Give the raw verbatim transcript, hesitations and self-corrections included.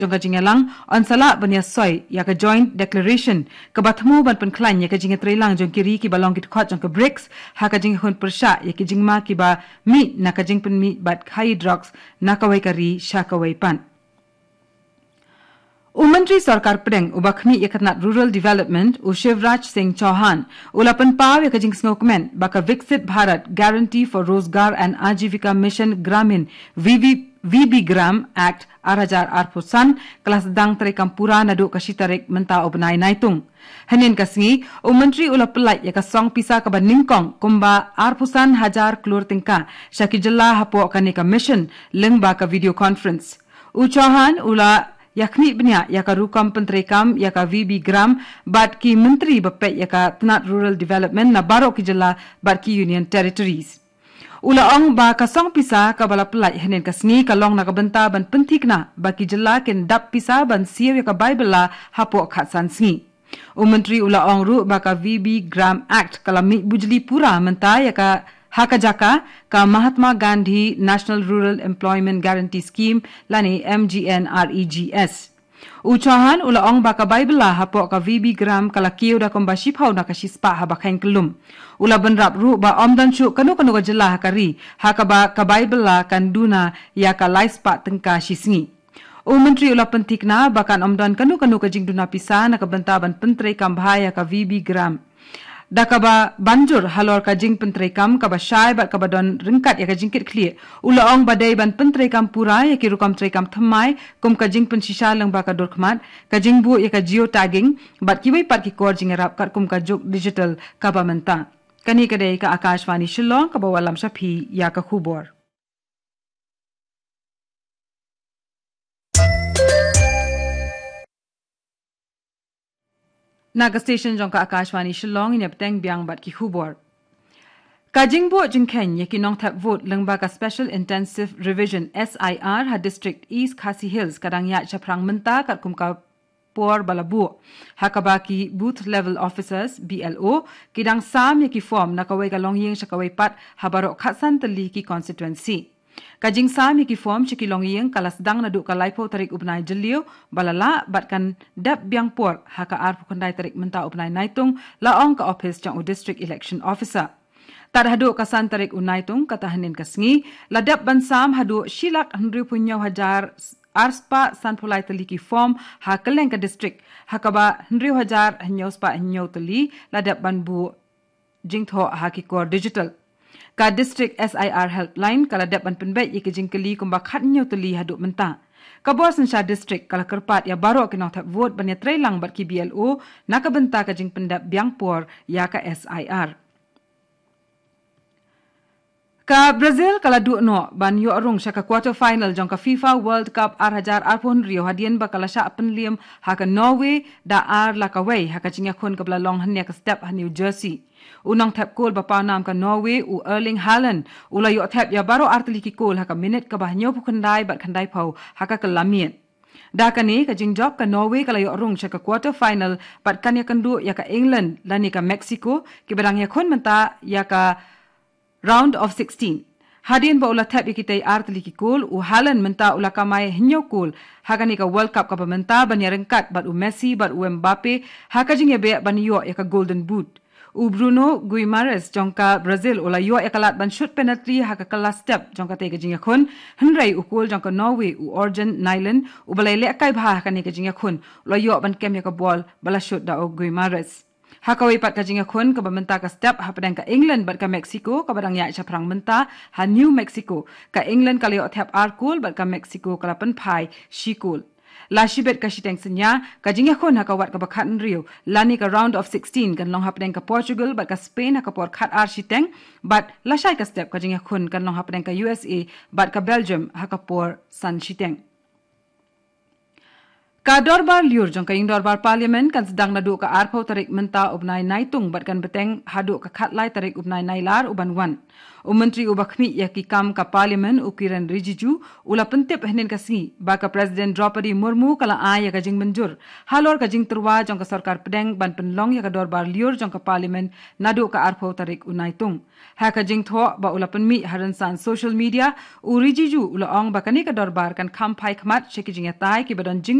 jong ka jingïalang yn sa lah ban ïasoi ïa ka Joint Declaration kaba thmu ban pynkhlaiñ ïa ka jingïatreilang jong ki ri kiba long ki dkhot jong ka BRICS ha ka jingïakhun pyrshah ïa ki jingma kiba mih na ka jingpynmih bad khaïi drugs na kawei ka ri sha kawei pat. U Myntri Sorkar Pdeng uba khmih ïa ka tnat Rural Development, u Shivraj Singh Chauhan, u la pynpaw ïa ka jingsngewkmen ba ka Viksit Bharat Guarantee for Rozgar and Ajivika Mission Gramin, V V, V B Gram Act ar hajar arphew san ka la sdang treikam pura naduh ka shi tarik mynta u bnai Naitung. Hynnin ka sngi, u Myntri u la pyllait ïa ka song pisa kaba nyngkong kumba arphew san hajar klur tyngka sha ki jylla hapoh kane ka mission lyngba ka video conference. U Chauhan u la ïakhmih bniah ïa ka rukom pyntreikam ïa ka V B Gram bad ki myntri ba peit ïa ka tnat Rural Development na baroh ki jylla bad ki Union Territories. U la ong ba ka song pisa kaba la pyllait hynnin ka sngi ka long na ka bynta ban pynthikna ba ki jylla kin dap pisa ban siew ïa ka bai bylla hapoh khatsan sngi. U Myntri u la ong ruh ba ka V B Gram Act ka la mih bujli pura mynta ïa ka ha ka jaka ka Mahatma Gandhi National Rural Employment Guarantee Scheme lane M G N R E G S. U Chauhan u la ong ba ka bai bylla hapoh ka V B Gram ka la kiew da kumba shiphew na ka shispah haba kheiñ kyllum. U la bynrap ruh ba ym don shuh kano kano ka jylla ha ka ri ha kaba ka bai bylla kan duna ïa ka lai spah tyngka shi sngi. U Myntri u la pynthikna ba kan ym don kano kano ka jingduna pisa na ka bynta ban pyntreikam bha ïa ka V B Gram. Da kaba ban jur halor ka jingpyntreikam kaba shai bad kaba don ryngkat ïa ka jingkitkhlieh, u la ong ba dei ban pyntreikam pura ïa ki rukom treikam thymmai kum ka jingpynshisha lyngba ka dur khmat, ka jingbuh ïa ka geotagging bad kiwei pat ki kor jingïarap katkum ka juk digital kaba mynta. Kane ka dei ka Akashvani Shillong kaba wallam sha phi ïa ka khubor. Na ka station jong ka Akashvani Shillong, ngin ïa bteng biang bad ki khubor. Ka jingbuh jingkheiñ ïa ki nongthep vote lyngba ka Special Intensive Revision, S I R, ha District East Khasi Hills ka dang ïaid shaphrang mynta katkum ka por ba la buh. Ha kaba ki Booth Level Officers, B L O, ki dang sam ïa ki form na kawei ka longïing sha kawei pat ha baroh khatsan tylli ki constituency. Ka jingsam ïa ki form sha ki longïing ka la sdang naduh ka laiphew tarik u bnai Jylliew ba la lah bad kan dep biang por ha ka arphew khyndai tarik mynta u bnai Naitung, la ong ka ophis jong u District Election Officer. Tad haduh ka san tarik u Naitung, kata hynnin ka sngi, la dep ban sam haduh shi lak hynriewphew hynñiew hajar arspah sanphew lai tylli ki form ha kylleng ka district, ha kaba hynriew hajar hynñiewspah hynñiew tylli la dep ban buh jingthoh ha ki kor digital. Ka District S I R Helpline ka la dep ban pynbeit ïa ki jingkylli kumba khathynñiew tylli haduh mynta. Ka bor synshar district ka la kyrpad ïa baroh ki nongthep vote ban ïatreilang bad ki B L O na ka bynta ka jingpyndep biang por ïa ka S I R. Ka Brazil ka la duh noh ban ïoh rung sha ka quarter final jong ka FIFA World Cup ar hajar arphew hynriew hadien ba ka la shah pynliem ha ka Norway da ar la kawei ha ka jingïakhun kaba la long hynne ka step ha New Jersey. U nongthep kol ba pawnam ka Norway u Erling Haaland u la ïoh thep ïa baroh ar tylli ki kol ha ka minit kaba hynñiewphew khyndai bad khyndaiphew ha ka kylla miet. Da kane ka jingjop ka Norway ka la ïoh rung sha ka quarter final bad kan ïakynduh ïa ka England lane ka Mexico kiba dang ïakhun mynta ïa ka round of sixteen. Hadien ba u la thep ïa kitei ar tylli ki kol, u Haaland mynta u la kamai hynñiew kol ha kane ka World Cup kaba mynta ban ïaryngkat bad u Messi bad u Mbappe ha ka jingïabeh ban ïoh ïa ka Golden Boot. U Bruno Guimarães jong ka Brazil u la ïoh ïa ka lad ban shut penalty ha ka kylla step jong katei ka jingïakhun, hynrei u kol jong ka Norway u Orjan Nyland uba la ïalehkai bha ha kane ka jingïakhun u la ïoh ban kem ïa ka bol ba la shut da u Guimarães. Ha kawei pat ka jingïakhun kaba mynta ka step hapdeng ka England bad ka Mexico kaba dang ïaid shaphrang mynta ha New Mexico, ka England ka la ïoh thep ar kol bad ka Mexico ka la pynphai shi kol. La shibit ka shiteng synñia, ka jingïakhun ha ka wat kaba khathynriew lane ka round of sixteen kan long hapdeng ka Portugal bad ka Spain ha ka por khatar shiteng, bad lashai ka step ka jingïakhun kan long hapdeng ka U S A bad ka Belgium ha ka por san shiteng. Ka dorbar lyiur jong ka ïing dorbar Parliament kan sdang naduh ka arphew tarik mynta u bnai Naitung bad kan bteng haduh ka khatlai tarik u bnai Nailar u ban wan. U Myntri uba khmih ïa ki kam ka Parliament u Kiren Rijiju u la pyntip hynnin ka sngi ba ka President Droupadi Murmu ka la ai ïa ka jingmynjur halor ka jingtyrwa jong ka sorkar pdeng ban pynlong ïa ka dorbar lyiur jong ka Parliament naduh ka arphew tarik u Naitung. Ha ka jingthoh ba u la pynmih ha rynsan social media, u Rijiju u la ong ba kane ka dorbar kan kham phai khmat sha ki jingïatai kiba don jing